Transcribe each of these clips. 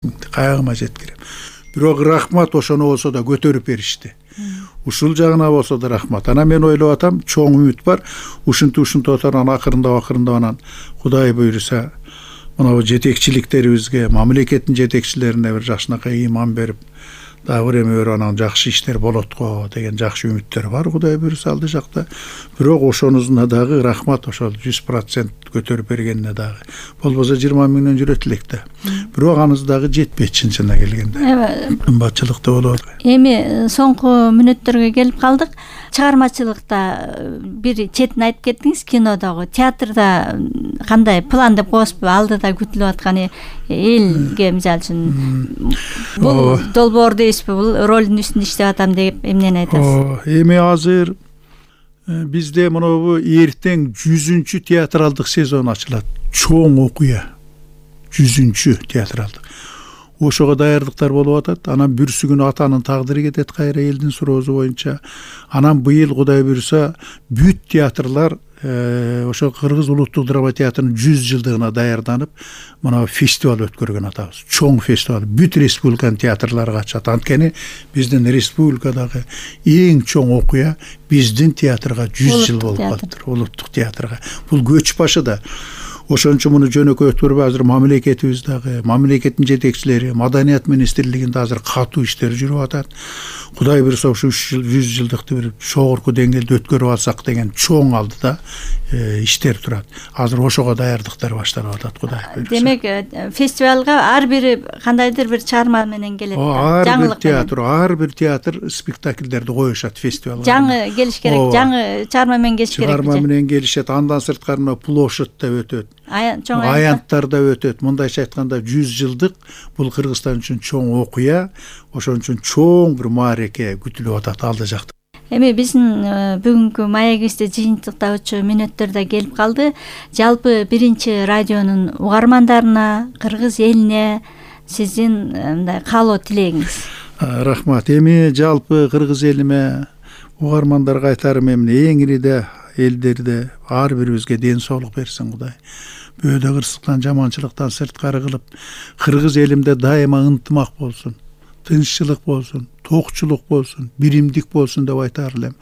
кайгыма жеткирем. Бирок рахмат ошону болсо да көтөрүп беришти. Ушул жагына болсо да рахмат. Анан мен ойлоп атам, чоң үмүт бар. Ушинтип отуран акырындап анан Кудай буйруса мына жетекчиликтерибизге, мамлекеттин жетекчилерине бир жакшынакай ыйман берип, дагы бир эме анан жакшы иштер болот го деген жакшы үмүттөр бар Кудай буйруса алды жакта. Бирок ошонусуна дагы рахмат, ошол 100% көтөрүп бергенине дагы. Болбосо 20 миңден жүрөт элек да. Бирок анысы дагы жетпейт чынына келгенде. Кымбатчылыкта болот. Эми соңку мүнөттөргө келип калдык. Чыгармачылыкта бир четин айтып кеттиңиз, кинодогу, театрда кандай план деп коесузбу? Алдыда күтүлүп аткан элге мисалы үчүн бул долбоор дейсизби, бул ролдун үстүндө иштеп атам деп эмнени айтасыз? Эми азыр бизде монобу эртең 100-чү театралдык сезон ачылат. Чоң окуя. 100-чү театралдык. Ошого даярдыктар болуп атат. Анан бүрсү күнү атанын тагдыры кетет кайра элдин суроосу боюнча. Анан быйыл Кудай буйруса бүт театрлар ошо Кыргыз улуттук драма театрынын 100 жылдыгына даярданып, мына фестиваль өткөргөн атабыз. Чоң фестиваль бүт республиканын театрлары катышат. Анткени биздин республикадагы эң чоң окуя биздин театрга 100 жыл болуп калыптыр. Улуттук театрга. Бул көч башы да. Ошон үчүн муну жөнөкөй өткөрбөй азыр мамлекетибиз дагы, мамлекеттин жетекчилери, Маданият министрлигинде азыр катуу иштер жүрүп атат. Кудай буйруса ушу 100 жылдыкты бир жогорку деңгээлде өткөрүп алсак деген чоң алдыда иштер турат. Азыр ошого даярдыктар башталып атат Кудай буйруса. Демек, фестивалга ар бири кандайдыр бир чарма менен келет. Ар бир театр спектакльдерди коюшат фестивалга. Жаңы келиш керек, жаңы чарма менен келиш керек. Чарма менен келишет. Андан сырткары площадьта өтөт. Аянттарда өтөт. Мындайча айтканда 100 жылдык бул Кыргызстан үчүн чоң окуя, ошон үчүн чоң бир маареке күтүлүп атат алда жакта. Эми биздин бүгүнкү маегибизде жыйынтыктоочу мүнөттөр да келип калды. Жалпы биринчи радионун угармандарына, кыргыз элине сиздин мындай каалоо тилегиңиз? Рахмат. Эми жалпы кыргыз элиме, угармандарга айтарым эмне, эң ириде элдерде ар бирибизге ден соолук берсин Кудай. Бөөдө кырсыктан, жаманчылыктан сырткары кылып, кыргыз элимде дайыма ынтымак болсун, тынччылык болсун, токчулук болсун, биримдик болсун деп айтар элем.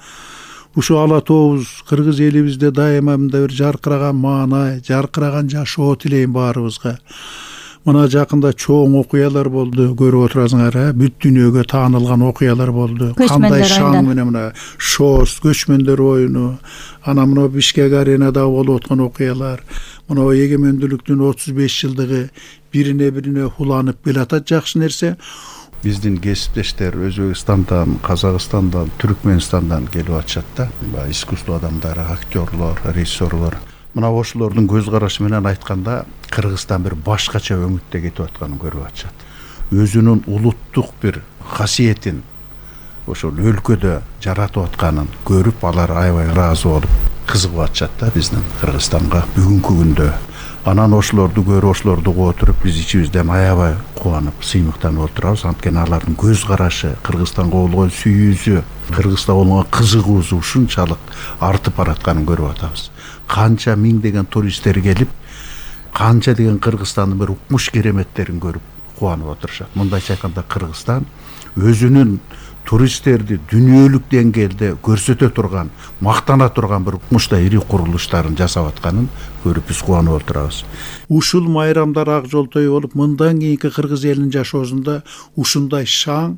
Ушу ала тообуз кыргыз элибизде дайыма мындай бир жаркыраган маанай, жаркыраган жашоо тилейм баарыбызга. Мына жакында чоң окуялар болду, көрүп отурасыңар, бүт дүйнөгө таанылган окуялар болду. Кандай шаң менен мына ШОС, көчмөндөр оюну, анан мына Бишкек аренада болуп аткан окуялар, мына эгемендүүлүктүн 35 жылдыгы бирине уланып келатат, жакшы нерсе. Биздин кесиптештер Өзбекстандан, Казакстандан, Түркмөнстандан келип атышат да. Искусство адамдары, актерлор, режиссерлор. Мына ошолордун көз карашы менен айтканда, Кыргызстан бир башкача өңүттө кетип атканын көрүп атышат. Өзүнүн улуттук бир касиетин ошол өлкөдө жаратып атканын көрүп, алар аябай ыраазы болуп, кызыгып атышат да биздин Кыргызстанга бүгүнкү күндө. Анан ошолорду көрүп, ошолорду угуп отуруп, биз ичибизден аябай кубанып, сыймыктанып отурабыз. Анткени алардын көз карашы, Кыргызстанга болгон сүйүүсү, Кыргызстанга болгон кызыгуусу ушунчалык артып баратканын көрүп атабыз. Канча миңдеген туристтер келип, канча деген Кыргызстандын бир укмуш кереметтерин көрүп кубанып отурушат. Мындайча айтканда Кыргызстан өзүнүн туристтерди дүйнөлүк деңгээлде көрсөтө турган, мактана турган бир укмуштай ири курулуштарын жасап атканын көрүп биз кубанып отурабыз. Ушул майрамдар ак жолтой болуп, мындан кийинки кыргыз элинин жашоосунда ушундай шаң,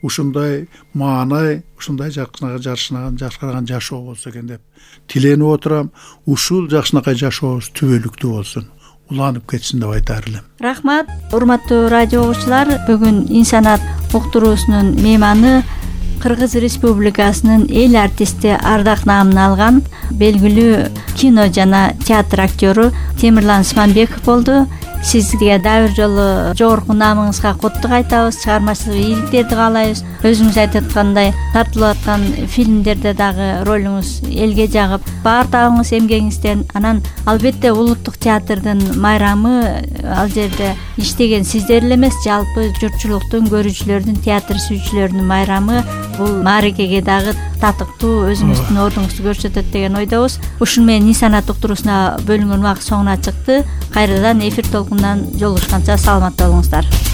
ушундай маанай, ушундай жаркыраган жашоо болсо экен деп тиленип отурам. Ушул жакшынакай жашообуз түбөлүктүү болсун, уланып кетсин деп айтар элем. Рахмат, урматтуу радио угуучулар. Бүгүн Инсанат уктуруусунун мейманы Кыргыз Республикасынын эл артисти ардак наамын алган белгилүү кино жана театр актёру Темирлан Сманбеков болду. Сизге дагы бир жолу жогорку наамыңызга куттук айтабыз, чыгармачылык ийгиликтерди каалайбыз. Өзүңүз айтып аткандай, тартылып аткан фильмдерде дагы ролуңуз элге жагып, баардыгыңыз эмгегиңизден, анан албетте улуттук театрдын майрамы ал жерде иштеген сиздер эле эмес, жалпы журтчулуктун, көрүүчүлөрдүн, театр сүйүүчүлөрдүн майрамы. Бул маарекеге дагы татыктуу, өзүңүздүн ордуңузду көрсөтөт деген ойдобуз. Ушуну менен инсанат уктуруусуна бөлүнгөн убакыт соңуна чыкты. Кайрадан эфир толкунунан жолугушканча саламатта болуңуздар.